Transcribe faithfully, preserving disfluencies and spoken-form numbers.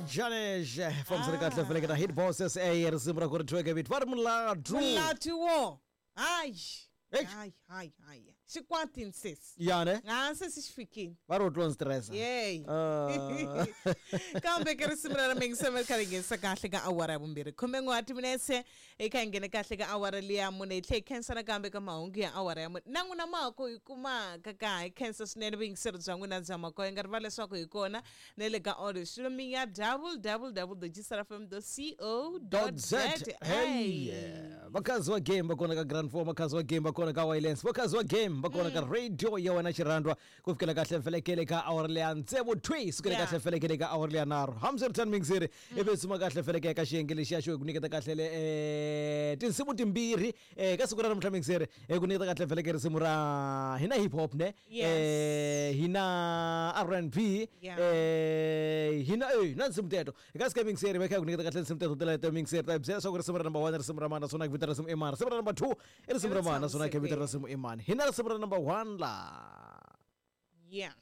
Janesh fambisani kahle feleketa Hit Boss S A risimu ra ku ri thweke vito va ri mulatu. Mulatu wo. Hayi. Eish. Hayi hayi hayi. Xikwatini sesi. Ya ne? Ah sesi xi fikile. Va ri u tlon stress. Yey. Ah. Kambe ke risimu ra mingiselo kha ri nghenisa kahle ka awara ya vumbirhi. Khume n'we wa timinetse hi kha hi nghene kahle ka awara liya mune hi tlhe hi khensa nakambe ka mahungu ya awara ya mune. Na n'wina mako hi kumaka ka hi khensa swinene vuyingiseri bya n'wina bya mako hi nga rivali leswaku hi kona na le ka audio streaming ya w w w dot g s r f m dot c o dot z a. Hey, vakhazi wa game va kona ka Grand Four, vakhazi wa game va kona ka Wireless, vakhazi wa game va kona ka radio ya wena xirhandwa ku fikela kahle felekele ka awara leya tsevu thwi sukela Yeah. kahle felekele ka awara leya nharhu. Hambiswiritano mingiseri ivi suma kahle feleke ka xiyenge lexiya xo hi ku nyiketa kahle le eh, tinsimu timbirhi eh, ka siku ra namuntlha mingiseri hi ku nyiketa kahle feleke risimu ra hina hip hop ne Yes. eh, hina R and B Yeah. eh, hina eh, na nsimu teto eka sika mingiseri va kha hi ku nyiketa kahle tinsimu teto teleto mingiseri ta hi byela leswaku risimu ra number one risimu ra mani naswona ku vita risimu i mani, risimu ra number two i risimu ra mani naswona ku vita risimu i mani. Hina risimu ra number one la. Yeah.